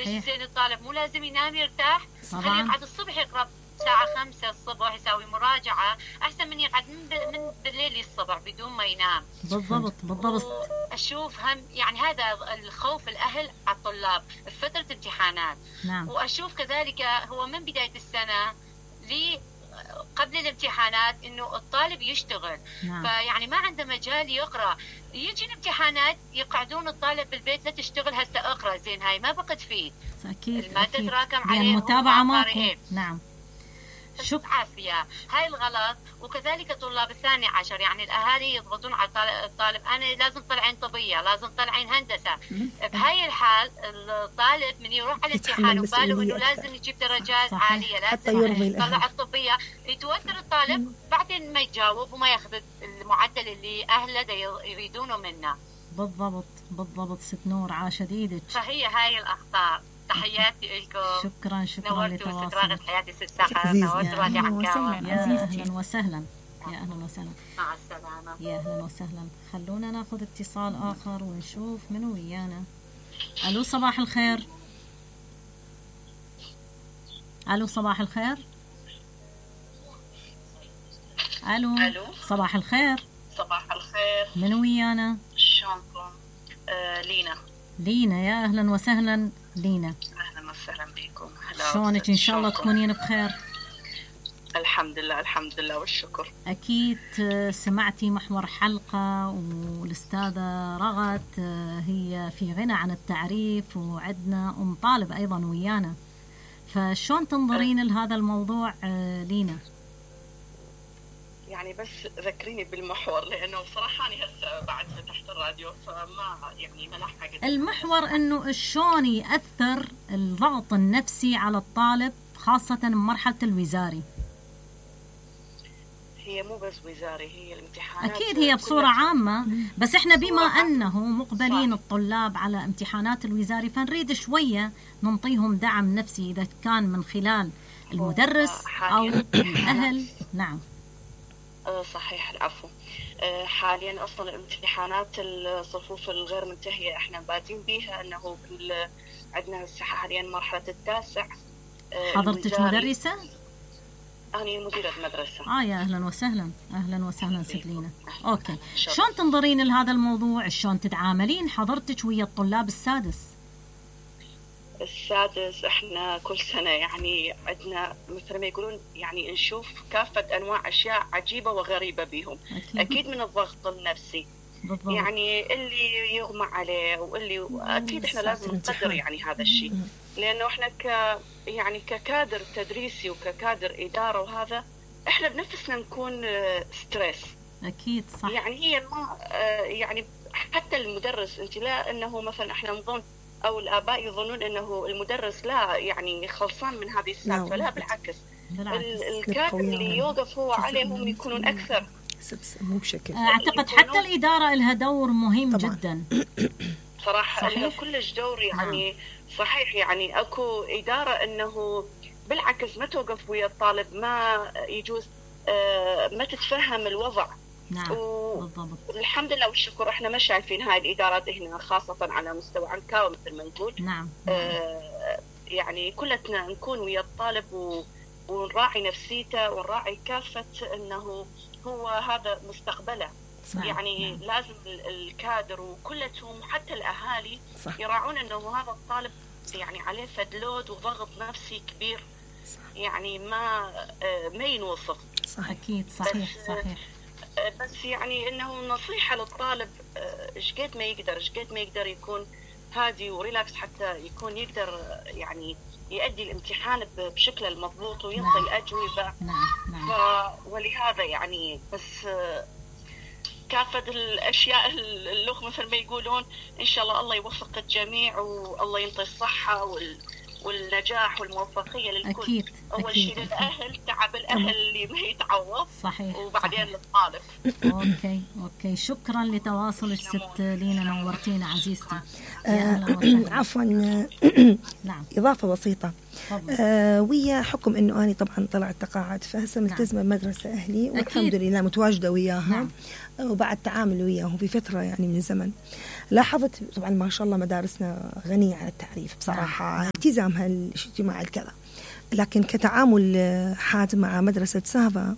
زين الطالب مو لازم ينام يرتاح، خليه يقعد الصبح يقرأ الساعة 5 الصبح، يسوي مراجعة أحسن من يقعد من بالليل للصبح بدون ما ينام. بالضبط. أشوف هم يعني هذا الخوف الأهل على الطلاب في فترة امتحانات. نعم. وأشوف كذلك هو من بداية السنة قبل الامتحانات انه الطالب يشتغل. نعم. فيعني ما عنده مجال يقرا، يجي الامتحانات يقعدون الطالب بالبيت لا تشتغل هسه اقرا، زين هاي ما بقى تفيد. اكيد الماده تتراكم عليه المتابعه ماكو. نعم. عافية هاي الغلط. وكذلك طلاب الثاني عشر، يعني الأهالي يضغطون على الطالب أنا لازم طلعين طبية، لازم طلعين هندسة. بهاي الحال الطالب من يروح على الامتحان وباله إنه لازم يجيب درجات عالية، لازم يطلع الطبية، يتوتر الطالب بعدين ما يجاوب وما ياخذ المعدل اللي أهله يريدونه منه. بالضبط ست نور، عاشت ايدك. فهي هاي الأخطاء. تحياتي لكم. شكرا نورتوا راغد حياتي ست سحر، نورتوا والي عكاوة. يا أهلا وسهلا. مع السلامة. يا أهلا وسهلا. خلونا ناخذ اتصال آخر ونشوف منو ويانا. ألو صباح الخير. ألو صباح الخير. ألو صباح الخير. صباح الخير. منو ويانا؟ شلونكم؟ لينا. يا أهلا وسهلا لينا. أهلا وسهلا بكم. شلونك؟ إن شاء الله تكونين بخير. الحمد لله والشكر. أكيد سمعتي محور حلقة، والأستاذة رغد هي في غنى عن التعريف، وعندنا أم طالب أيضا ويانا، فشون تنظرين لهذا الموضوع لينا؟ يعني بس ذكريني بالمحور، لأنه صراحة أنا هسه بعد فتحت الراديو فما يعني ما لحقت. المحور إنه شلون يأثر الضغط النفسي على الطالب خاصة بمرحلة الوزاري. هي مو بس وزاري، هي الامتحانات أكيد هي بصورة عامة، بس إحنا بما أنه مقبلين الطلاب على امتحانات الوزاري فنريد شوية ننطيهم دعم نفسي، إذا كان من خلال المدرس أو الأهل. نعم صحيح. العفو. حاليا أصلا الامتحانات الصفوف الغير منتهية احنا بادين بيها، أنه عندنا حاليا مرحلة التاسع. حضرتك مدرسة؟ أنا مديرة مدرسة. يا أهلا وسهلا ست لينا. أوكي، شلون تنظرين لهذا الموضوع؟ شلون تتعاملين حضرتك ويا الطلاب السادس؟ احنا كل سنة يعني عندنا مثل ما يقولون يعني نشوف كافة أنواع أشياء عجيبة وغريبة بهم. أكيد من الضغط النفسي. بالضبط. يعني اللي يغمى عليه واللي أكيد احنا لازم نقدر يعني هذا الشيء، لأنه احنا يعني ككادر تدريسي وككادر إدارة وهذا احنا بنفسنا نكون ستريس. أكيد صح. يعني هي ما يعني حتى المدرس انت لا انه مثلا احنا نظن او الاباء يظنون انه المدرس لا يعني خلصان من هذه السالفه، لا بالعكس. الكادر اللي يوقف هو عليهم يكونون اكثر. مو بشكل اعتقد حتى الاداره لها دور مهم طبعا. جدا صراحه لها كلش دور يعني. صحيح يعني اكو اداره انه بالعكس ما توقف ويا الطالب، ما يجوز ما تتفهم الوضع. نعم بالضبط. الحمد لله والشكر احنا ما شايفين هاي الادارات هنا خاصه على مستوى عنكاوي مثل ما نقول. نعم. يعني كلتنا نكون ويا الطالب ونراعي نفسيته ونراعي كافه انه هو هذا مستقبله. صح. يعني لازم الكادر وكلتهم حتى الاهالي صح. يراعون انه هذا الطالب يعني عليه فدلود وضغط نفسي كبير. صح. يعني ما ينوصف. صح. اكيد صحيح. بس يعني انه نصيحه للطالب شقد ما يقدر يكون هادي وريلاكس حتى يكون يقدر يعني يؤدي الامتحان بشكله المضبوط وينطي الاجوبه. نعم. ولهذا يعني بس كافة الاشياء اللغة مثل ما يقولون ان شاء الله يوفق الجميع والله ينطي الصحه والنجاح والموفقية للكل. أكيد. أول شيء للأهل، تعب الأهل اللي ما يتعوض. صحيح. وبعدين للطالب. أوكي شكرا لتواصلك ست لينا، نورتينا عزيزتي. عفوا. نعم. إضافة بسيطة. ويا حكم انه انا طبعا طلعت تقاعد، فهسه ملتزمه بمدرسه اهلي والحمد لله متواجده وياها. وبعد تعامل وياهم في فتره يعني من الزمن، لاحظت طبعا ما شاء الله مدارسنا غنيه عن التعريف بصراحه، التزامها الاجتماعي الكذا، لكن كتعامل حاد مع مدرسه سافا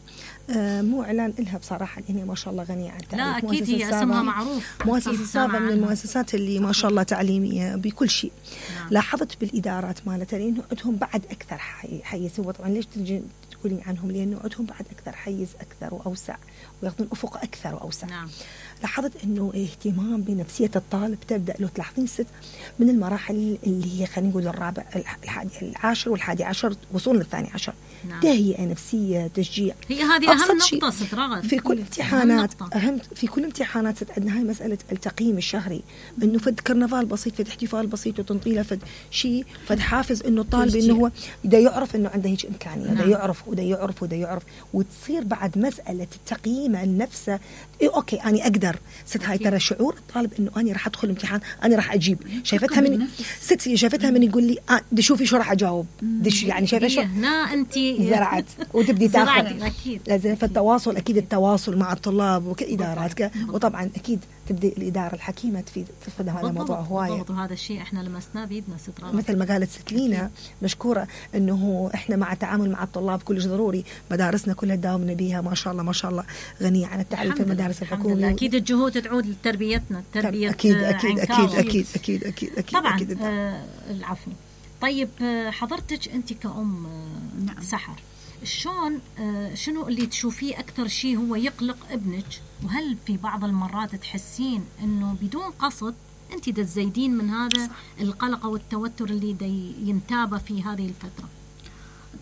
مو اعلان لها بصراحه، هي ما شاء الله غنيه عن التعريف. لا اكيد هي اسمها معروف. مؤسسه سافا من المؤسسات اللي ما شاء الله تعليميه بكل شيء. لاحظت بالادارات مالتها لانه عندهم بعد اكثر حيز. هو طبعا ليش تقولين عنهم؟ لانه عندهم بعد اكثر حيز اكثر واوسع، وياخذون افق اكثر واوسع. لاحظت انه اهتمام بنفسيه الطالب تبدا له تلاحظين ست من المراحل اللي هي خلينا نقول الرابع العاشر والحادي عشر وصول للثاني عشر. تهيئه نفسيه، تشجيع، هي هذه اهم نقطه ست رغد في كل امتحانات. في كل امتحانات ست عندنا هاي مساله التقييم الشهري، انه فد كرنفال بسيط، فد احتفال بسيط وتنطيله فد شيء، فد حافز انه الطالب انه هو بده يعرف انه عنده هيك امكانيه، بده يعرف وتصير بعد مساله التقييم لنفسه. اوكي انا اقدر ست. هاي ترى شعور الطالب انه انا راح ادخل امتحان انا راح اجيب. شايفتها من ست، شايفتها من يقول لي بدي شوفي شو راح اجاوب، يعني شايفه شو هنا انت زرعت وتبدي تاخذ. اكيد لازم فالتواصل، اكيد التواصل مع الطلاب وكادارات وطبعا اكيد تبدي الاداره الحكيمه تفيد هذا الموضوع هوايه. وهذا الشيء احنا لمسناه بيدنا ست رغد، مثل ما قالت ست لينا مشكوره انه احنا مع التعامل مع الطلاب كلش ضروري. مدارسنا كلها داومنا بها ما شاء الله ما شاء الله غنيه عن التعريف في المدارس الحكوميه. اكيد الجهود تعود لتربيتنا، التربيه اكيد اكيد اكيد اكيد اكيد اكيد اكيد طبعا. أكيد العفو. طيب حضرتك انت كأم سحر، شلون شنو اللي تشوفيه اكثر شيء هو يقلق ابنك؟ وهل في بعض المرات تحسين انه بدون قصد انت تزيدين من هذا القلق والتوتر اللي ينتابه في هذه الفتره؟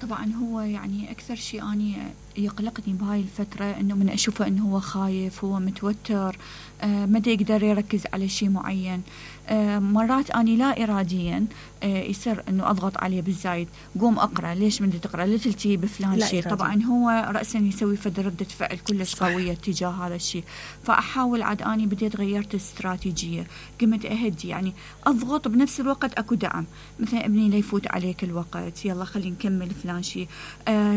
طبعا هو يعني اكثر شيء اني يقلقني بهاي الفتره انه من اشوفه انه هو خايف، هو متوتر، ما يقدر يركز على شيء معين. مرات اني لا اراديا يصير انه اضغط عليه بالزايد، قوم اقرا، ليش بدي تقرا؟ لا تلتي بفلان شيء. طبعا هو راسا يسوي فد رده فعل كلش قويه تجاه هذا الشيء. فاحاول عاد اني بديت غيرت الاستراتيجيه، قمت اهدي، يعني اضغط بنفس الوقت اكو دعم. مثلا ابني لا يفوت عليك الوقت، يلا خلينا نكمل فلان شيء،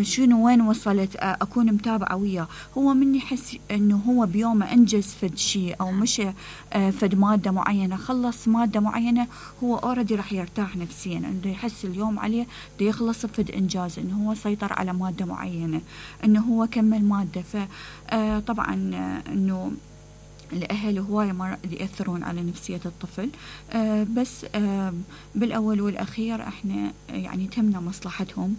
شنو وين وصلت، اكون متابعه وياه. هو من يحس انه هو بيومه انجز فد شيء او مشى فد ماده معينه، خلص ماده معينه، هو اوريدي راح يرتاح نفسيا، انه يحس اليوم عليه بده يخلص فد انجاز، انه هو سيطر على ماده معينه، انه هو كمل ماده. فطبعا انه الأهل هواية مرات يأثرون على نفسية الطفل، بس بالأول والأخير احنا يعني تهمنا مصلحتهم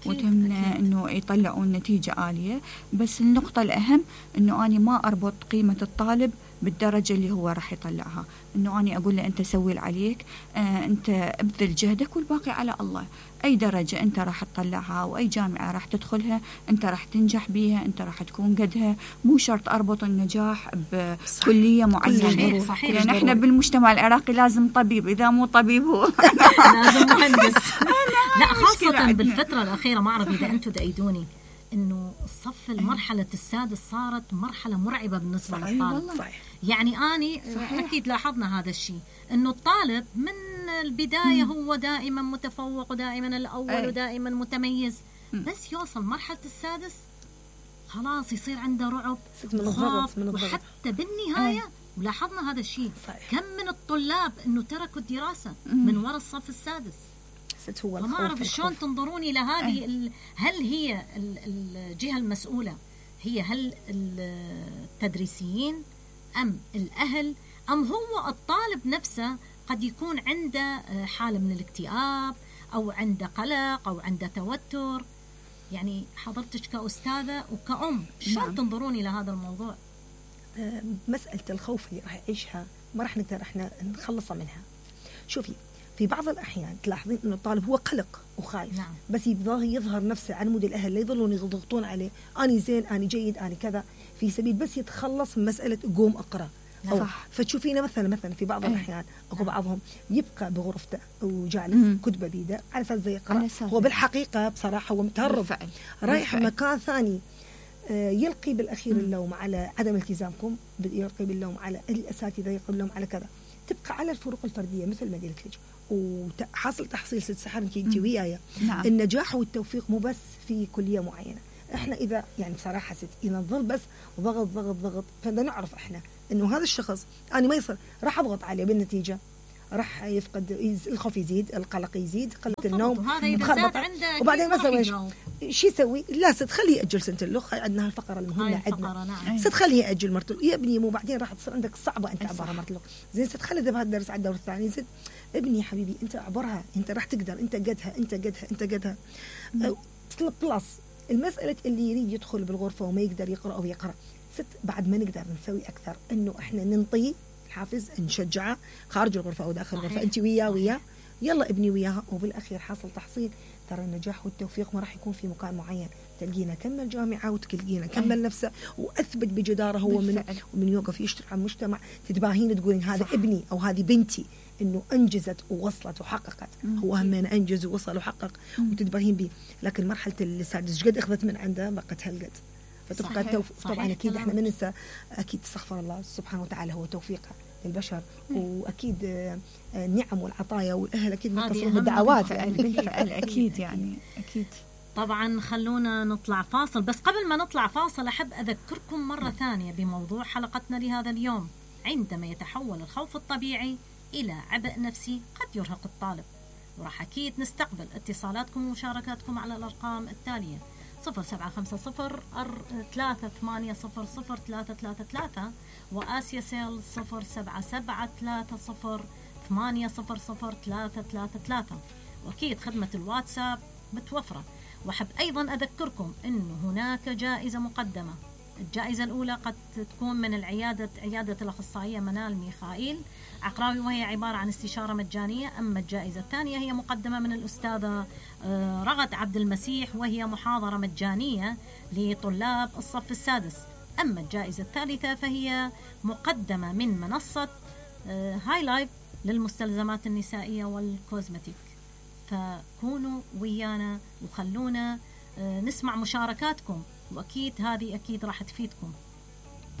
وتهمنا انه يطلعون نتيجة عالية. بس النقطة الأهم انه أنا ما أربط قيمة الطالب بالدرجة اللي هو راح يطلعها، انه أنا أقول له أنت سوي اللي عليك، أنت ابذل جهدك والباقي على الله. أي درجة أنت راح تطلعها وأي جامعة راح تدخلها أنت راح تنجح بيها، أنت راح تكون قدها. مو شرط أربط النجاح بكلية معينة. صحيح. يعني احنا بالمجتمع العراقي لازم طبيب، إذا مو طبيب هو لازم مهندس. لا خاصة بالفترة الأخيرة، ما أعرف إذا أنتم تأيدوني، إنه الصف المرحلة السادس صارت مرحلة مرعبة بالنسبة للطالب. يعني أني أكيد لاحظنا هذا الشيء، إنه الطالب من البداية هو دائما متفوق ودائما الأول ودائما متميز، بس يوصل مرحلة السادس خلاص يصير عنده رعب وخوف، وحتى بالنهاية ولاحظنا هذا الشيء. كم من الطلاب إنه تركوا الدراسة من وراء الصف السادس. ما أعرف شلون تنظرون إلى هذه هل هي الجهة المسؤولة هل التدريسيين أم الأهل أم هو الطالب نفسه؟ قد يكون عنده حالة من الاكتئاب أو عنده قلق أو عنده توتر. يعني حضرتك كأستاذة وكأم شلون تنظرون إلى هذا الموضوع؟ مسألة الخوف اللي راح يعيشها ما راح نقدر احنا نخلصها منها. شوفي في بعض الأحيان تلاحظين إنه الطالب هو قلق وخايف، بس يبغى يظهر نفسه على مود الأهل، لا يظلون يضغطون عليه أنا زين أنا جيد أنا كذا، في سبيل بس يتخلص من مسألة قوم أقرأ. فتشوفينه مثلا في بعض الأحيان أكو بعضهم يبقى بغرفته وجالس كتبه بيده على أساس يقرأ، هو بالحقيقة بصراحة هو متهرب رايح مكان ثاني. يلقي بالأخير اللوم على عدم التزامكم، يلقي باللوم على الأساتذة، يلقي باللوم على كذا. تبقى على الفروق الفردية مثل ما قلت لك، وحاصل تحصيل ست سحر انت وياي. نعم. النجاح والتوفيق مو بس في كليه معينه. احنا اذا يعني بصراحه اذا نظل بس ضغط ضغط ضغط، فبدنا نعرف احنا انه هذا الشخص انا ما يصير راح اضغط عليه، بالنتيجه راح يفقد، الخوف يزيد، القلق يزيد، قله النوم، وبعدين مثلا شو يسوي؟ لا ست خليه ياجل سنه الاخ، عندنا الفقره المهمه عندنا. نعم. ست خليه ياجل مرته يا ابني، مو بعدين راح تصير عندك صعبه انت عبرها مرته الاخ. زين ست خلي ذهب الدرس على الدور الثاني. زين ابني يا حبيبي انت عبرها، انت راح تقدر، انت قدها. بلس المساله اللي يريد يدخل بالغرفه وما يقدر يقرا او يقرا، ست بعد ما نقدر نسوي اكثر، انه احنا ننطي حافز، نشجعه خارج الغرفه او داخل الغرفه. انت وياه يلا ابني وياها، وبالاخير حاصل تحصيل. ترى النجاح والتوفيق ما راح يكون في مكان معين، تلقينا كمل جامعه وتلقينا كمل نفسه واثبت بجداره هو ومن يوقف يشتغل على المجتمع تتباهين تقولين هذا ابني او هذه بنتي انه انجزت ووصلت وحققت. هو همين انجز ووصل وحقق وتتباهين به. لكن مرحله السادس قد اخذت من عنده بقت هالقد، فتبقى التوفيق. طبعا اكيد احنا ما ننسى، اكيد استغفر الله سبحانه وتعالى هو توفيقه للبشر، واكيد النعم والعطايا والاهل اكيد متصلين بالدعوات بالفعل اكيد يعني اكيد. طبعا خلونا نطلع فاصل، بس قبل ما نطلع فاصل احب اذكركم مره ثانيه بموضوع حلقتنا لهذا اليوم. عندما يتحول الخوف الطبيعي الى عبء نفسي قد يرهق الطالب، وراح اكيد نستقبل اتصالاتكم ومشاركاتكم على الارقام التاليه 0750-380-0333 وآسيا سيل 0773-080-333. وأكيد خدمة الواتساب متوفرة. وأحب أيضا أذكركم أنه هناك جائزة مقدمة. الجائزة الأولى قد تكون من عيادة الأخصائية منال ميخائيل عقراوي، وهي عبارة عن استشارة مجانية. أما الجائزة الثانية هي مقدمة من الأستاذة رغد عبد المسيح، وهي محاضرة مجانية لطلاب الصف السادس. أما الجائزة الثالثة فهي مقدمة من منصة هاي لايف للمستلزمات النسائية والكوزمتيك. فكونوا ويانا وخلونا نسمع مشاركاتكم، وأكيد هذه أكيد راح تفيدكم.